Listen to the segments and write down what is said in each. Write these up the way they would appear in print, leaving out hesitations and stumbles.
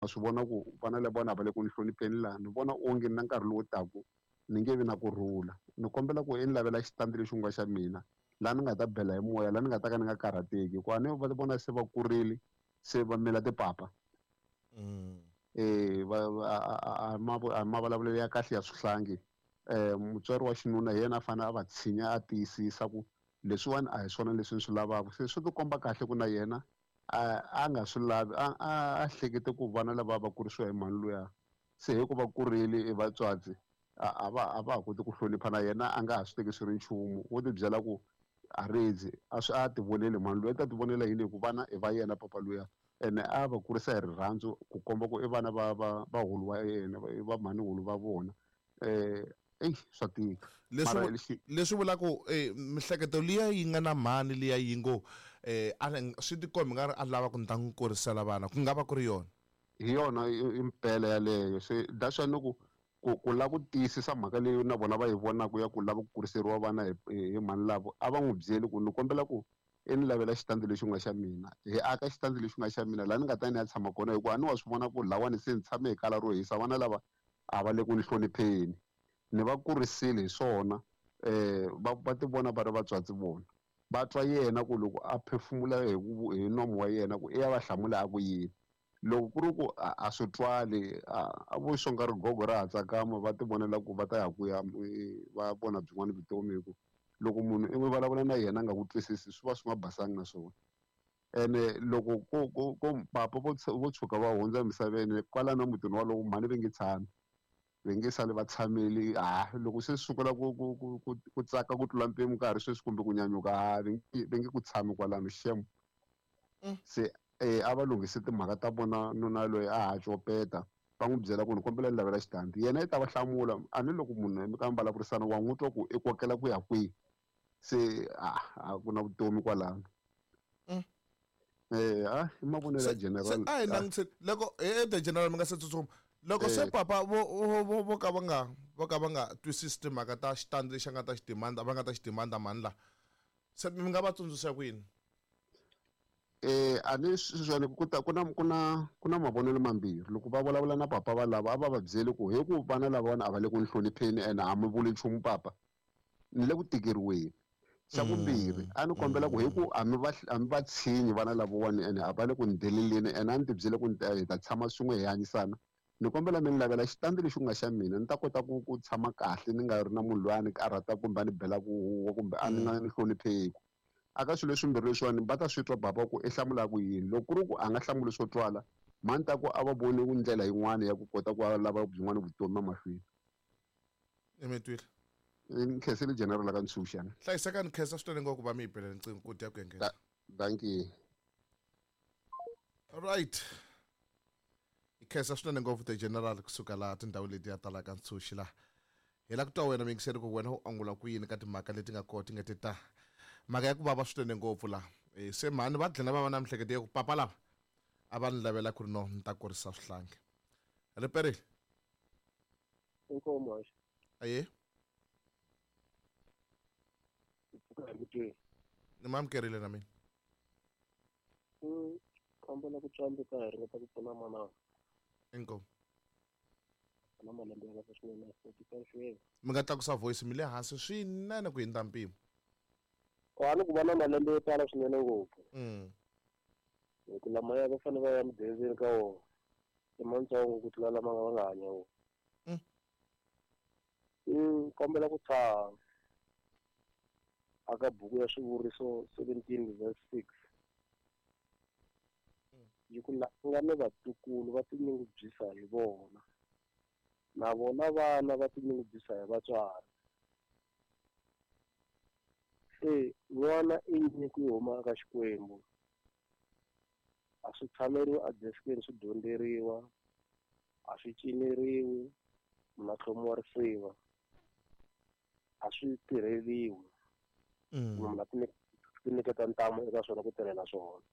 Swi vona ku vana lavawani a va le ku ni hlonipheni laha ni vona onge na nkarhi lowu taku ni nge vi na kurhula. Ni kombela ku i ni lavela xitandi lexi ku nga xa mina laha ni nga ta bela hi moya laha ni nga ta ka ni nga karhateki hikuva a ni va vona se va kurile se va mila tipapa. Va a a mavulavulelo ya kahle ya swihlangi. Mutswari wa xinuna hi yena a fanele a va tshinya a tiyisisa ku leswiwani a hi swona leswi ni swi lavaka. Se swi tikomba kahle ku na yena a a nga swi lavi a a a hlekete ku vana lava va kurisiwa hi mhani luya se hi ku va kurile i vatswatsi a a va a va ha koti ku hlonipha na yena a nga ha swi teki swi ri nchumu wo ti byela ku a redzi a swi a ti voneli mhani luya i ta ti vonela yini hi ku vana i va yena papa luya ene a va kurisa hi rirhandzu ku komba ku i vana va va va hulu wa yena va mhani hulu va vona eyi swa tika. Leswi Mara vu- lexi leswi vulaka ku mihleketo liya yi nga na mhani liya yi ngo a ri- swi tikombi nga ri a lava ku ni ta n'wi kurisela vana ku nga va ku ri yona. Hi yona i mpela yaleyo se that's why ni ku ku ku lava ku tiyisisa mhaka leyi na vona va yi vonaka ya ku lava ku kuriseriwa vana hi hi mhani lavo a va n'wi byeli ku ni kombela ku i ni lavela xitandi lexi nga xa mina hi aka xitandi lexi nga xa mina laha ni nga ta ni ya tshama kona hikuva a ni wa swi vona ku lawani se ni tshame hi kala ro hisa vana lava a va le ku ni hlonipheni ni va kurisile hi swona va va ti vona va ri vatswatsi vona va twa yena ku loko a phefumula hi ku hi nomu wa yena ku i ya va hlamula a ku yini loko ku ri ku a swi twali a vo xonga rigogo ra ha tsakama va ti vonela ku va ta ya ku ya va vona byin'wana vutomi hi ku loko munhu i vulavula na yena a nga ku twisisi swi va swi nga basanga na swona. Ene loko ko ko ko papa vo vo tshuka va hundza emisaveni kwalano mutini wolowo mhani va nge tshami va nge sali va tshamile ha loko se swi sungula ku ku ku ku ku tsaka ku tlula mpimo ka ha ri sweswi kumbe ku nyanyuka ha va nge va nge ku tshami kwalano xem. Se a va lunghise timhaka ta vona nuna loyi a ha copeta va n'wi byela ku ni kombela ni lavela xitandi yena i ta va hlamula a ni loko munhu mi ka mi vulavurisana wa n'wi twa ku i kokela ku ya kwihi se a a ku na vutomi kwalano. A i mavonelo ya Se general. se a hi langutiseni loko the general mi nga se tsutsuma loko se papa vo vo vo vo ka va nga vo ka va nga twisisi timhaka ta xitandi lexi a nga ta xi demand va nga ta xi demanda mhani la se mi nga va tsundzuxa ku yini? A ni sweswiwani ku ta ku na ku na ku na mavonelo mambirhi loko va vulavula na papa va lava a va va byeli ku hi ku vana lavawani a va le ku ni hlonipheni ene a mi vuli nchumu papa ni le ku tikeriweni. Xa vumbirhi a ni kombela ku hi ku a mi va a mi va tshinyi vana lavawani ene a va le ku ni deleleni ene a ni ti byele ku hi ta tshama swin'we hi hanyisana ni kombela mi ni lavela xitandi lexi ku nga xa mina ni ta kota ku ku tshama kahle ni nga ri na munhu loyi a ni karhata kumbe a ni belaka huwa kumbe a ni nga ni hlonipheki. Aka swilo leswimbirhi leswiwani va ta swi twa baba ku i hlamula ku yini loko ku ri ku a nga hlamuli swo twala mhani ta ku a va voni ndlela yin'wana ya ku kota ku lava byin'wana vutomi emahlweni. Ni mi twile. Ni khensile general ka ntshunxana. Hlayiseka ni khensa swinene ngopfu ku va mi yi bela riqingho ku dya ku engeta. Dankie. Right. Hi khensa swinene ngopfu the general kusuka laha tindhawu leti ya talaka ntshunxi laha. Hi la ku twa wena muyingiseri ku wena u angula ku yini ka timhaka leti nga kona ti nga ti ta. Mhaka ya ku vava swinene ngopfu laha. Se mhani va dlina va va na mihleketo ya ku papa lava a va ni lavela ku ri no ni ta kurisa swihlangi. Riperile. Inkomo haxi. Aye. Pfuka hi mutweni. Ni ma amukerile na mina. Kombela ku tsandeka hi ringeta ku pfuna manana. Inkomu. Na malembe ya kahle swinene 45 years. Mi nga tlakusa voice mi le hansi swinene ku hindza mpimo. A ni ku va na malembe yo tala swinene ngopfu. Hi ku lamaya va fanele va ya mudenzeni ka wona. I matsongo ku tlula lama va nga hanya wona. Kombela ku tshaha aka buku ya swivuriso 17 verse 6. Yi ku la nga ni vatukulu va tinyungubyisa hi vona. Na vona vana va tinyungubyisa hi vatswari. Se n'wana i nyiko yo huma eka Xikwembu. A swi tshameriwi edeskeni swi dyondzeriwa, a swi cineriwi, munhu a tlhomiwa risiva. A swi tirheliwi. Munhu a ti nyiketa ntamu eka swona ku tirhela swona.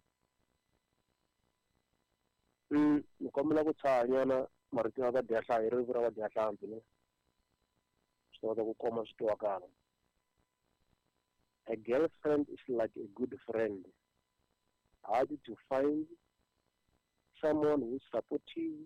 Ni kombela ku tshaha nyana marito ya vadyahlampfi, ririmi ra vadyahlampfi ne? Swi ta kota ku koma swi twakala. A girlfriend is like a good friend. Hard to find, someone who is supportive.